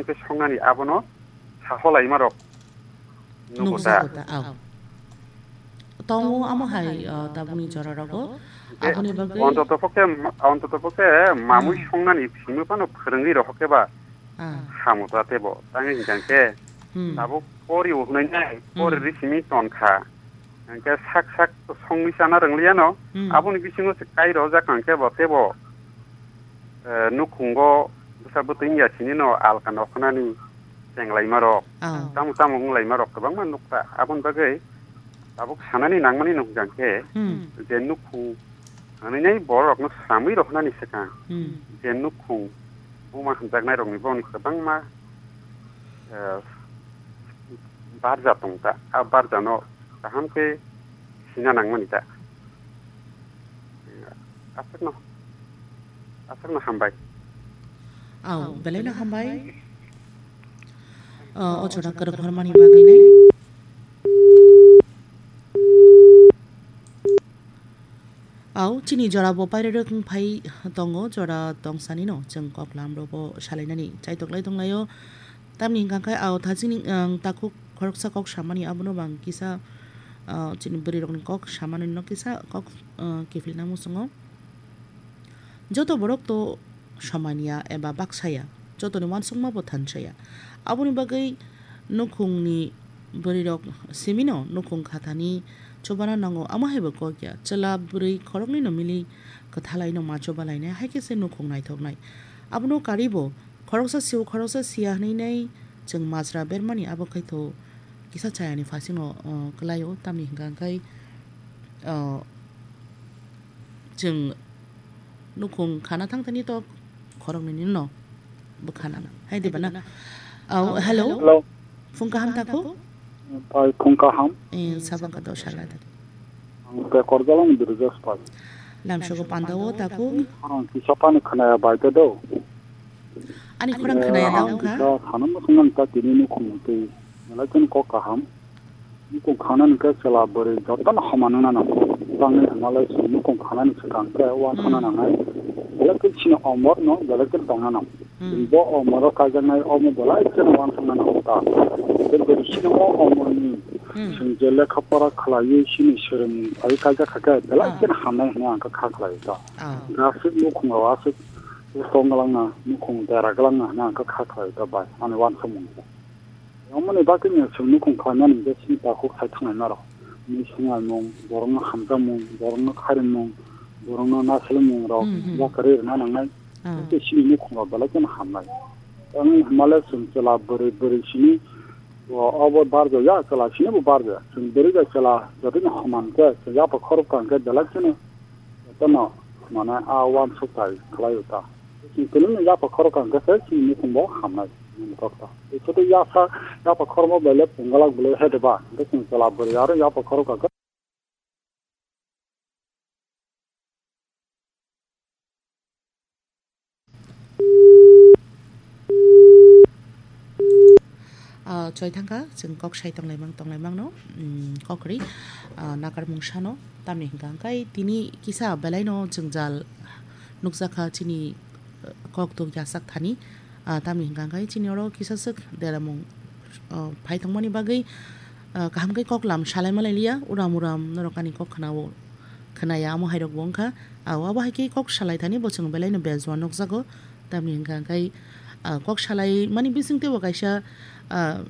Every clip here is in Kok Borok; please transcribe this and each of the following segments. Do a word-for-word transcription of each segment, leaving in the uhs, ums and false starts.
khe songnani abono saholaima rok nugo ta. Nukjago ta, au. Tongo amo hai, ah, tabukni jora rogo. Hingke aboni bagwi ontoto pokhe, ontoto pokhe mamui hmm songnani simi phano phwrwngwi rok khe ba ah hamo ta tebo. Tangwi hingkha khe hmm tabuk pori o hwnwi nai, pori hmm ri simi tonkha. Hingke sak sak songwi chana rwngliya no. Hmm. Aboni bisingo se kai rojak hingke bo tebo, eh, nukhungo bwsa bwtwi wngya sini no alka nokhnani chenglaima rok. Oh. Tamo tamo wnglaima rok kwbangma nukha. Aboni bagwi tabuk sanani nangmani nukjang khe hmm je nukhung hanwi nai borok no samwi roknani swkang hmm je nukhung buma hamjaknai rokni boni kwbangma, eh, barja tongta. A barja no kaham khe sina nangmani ta. Aswkno, aswkno hambai. Au, belai no hambai. O, o jora kwrwng hormani bagwi nai. Au, chini jora bo pairwrwk wng phai tongo, jora tongsanino chwng koklam robo salainani chaitok lai tonglaio. Tamni hwnkha khe, au, thachini, ang, takhuk khoroksa kok samani, abono bang kisa, ah, chini bwrwi rokni kok samani no kisa kok, ah, kiphilna muchungo. Joto borok to somanya eba baksaya, jotoni uansukma bo thansaya. Aboni bagwi nukhungni bwrwi rok simino nukhung khathani chubana nango, amo hai bo kok ya. Chwla bwrwi khoroknwi no mili kwthalai no ma chubalainai, hai khe se nukhung naithoknai. Abono karibo Khoroksa sio, khoroksa sia hwnwi nai chwng majra bermani, abo khaitho kisa chayani phasingo, o, kwlaio, tamni hwnkha khe, o, chwng nukhung khana thangtani to khoroknwini no bwkha nana. Hai di bana? Au, hello. Hello. Phung kaham tako? Pai phung kaham. Eh, sabang ka dosha lada. Ang Pekor Jalang Birjas Pai. Lamsogo pandao tako. Ang kisa pani khnaya bai te do. Ani khorang khnaya da wngkha. Kisa sana muchung nang ta tini nukhung twi. Belai ken kok kaham. Nukhung khanani khe chwla bwrwi jotono homa nangna nango. Tangni hwnmalai chwng nukhung khanani swkang khe uansukna nangnai. Belai ken chini omor no belai ken tongna nango. Hmm. Bo omoro kaijaknai omo belai kheno uansukna nango ta. Tei bwrwi chini o omorni hmm chwng je lekha pora khlaiwi chini swrwngmung phaiwi kaijak kha khe belai ah kheno hamnai hwnwi ang kha kha khlai ta. Ah. Gasik nukhung rok aswk tong glangna, nukhung dera glangna hwnwi ang kha kha khlai ta bai ani uansukmung. Omo ni bagwi no chwng nukhung khlaimani hwnkhe chini takhuk sai thangnaima rok. Mui swnglai mung, borok no hamjak mung, borok no khairi mung, borok no nasilmung rok hmm hmm yakarwi rwna nangnai. Ah. Tei chini nukhung rok belai kheno hamnai. Ang hwnmale chwng chwla bwrwi, bwrwi simi o, obo barjaya, chwla sini bo barjaya. Chwng bwrwi bai chwla jotoni homan khe, chwng yapha khorok kaham khe belai kheno jotono mane a uansuk tai khlai o ta. Chwng tini yapha khorok kaham khe se chini nukhung bo hamnai. Tei soto yasa, yapha khorokma belai pungalak belai hai de ba. Hingke chwng chwla bwrwi aro yapha khorok kaham khe Ah, choi thangkha, chwng kok sai tonglaimang, tonglaimang no, mm, kok ri, ah, nakar mung sano, tamni hwnkha hwnkhe tini kisa belai no jwngjal nukjakha chini, ah, kok tok yasak thani, ah, tamni hwnkha hwnkhe chini oro kisa swk deramung, ah, phai tongmani bagwi, ah, kaham khe kok lam salai malai liya, uram uram norok ani kok khna o, khna ya, amo hai rok bo wngkha. Ah, abo hai khe kok salai thani bo chwng belai no bejua nukjago. Tamni hwnkha hwnkhe, ah, kok salai mani bising teibo kaisa, ah,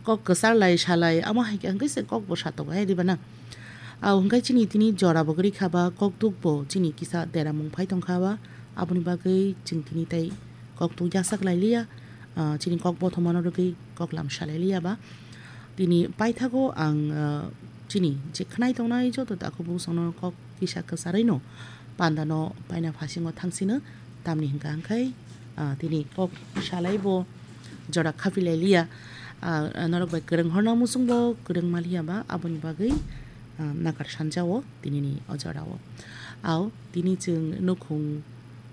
kok kwchar lai salai, amo hai khe hwnkhe se kok bo satok hai diba na. Ah, hwnkhe chini tini jora bo kwrwi kha ba, kok tuk bo chini kisa deramung phai tong kha ba, aboni bagwi chwng tini tei kok tuk yasak lai liya, ah, chini kok bothomano rwgwi kok lam salai liya ba. Tini paithago ang, ah, chini je khnai tongnai joto takhuk bwskango kok kisa kwcharwi no panda no paina phasingo thangsino, tamni hwnkha hwnkhe, ah, tini kok salai bo jora khapilai liya, ah, norok bai kwrwng horna muchung bo kwrwng ma liya ba, aboni bagwi, ah, nakar sanja o tinini o jora o. Au, tini chwng nukhung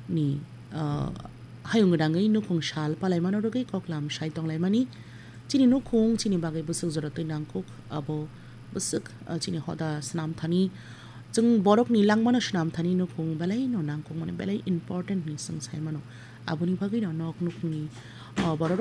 ni, ah, hayung rangwi nukhung sal palai mano rwgwi kok lam sai tong lai mani. Chini nukhung chini bagwi bwswk jora twi nangkuk, abo bwswk, ah, chini hoda swnam thani, chwng borok ni langma no swnam thani nukhung belai no nangkuk mani, belai important hinwi chwng sai mano. Aboni bagwi no nok nukhung ni, ah, borok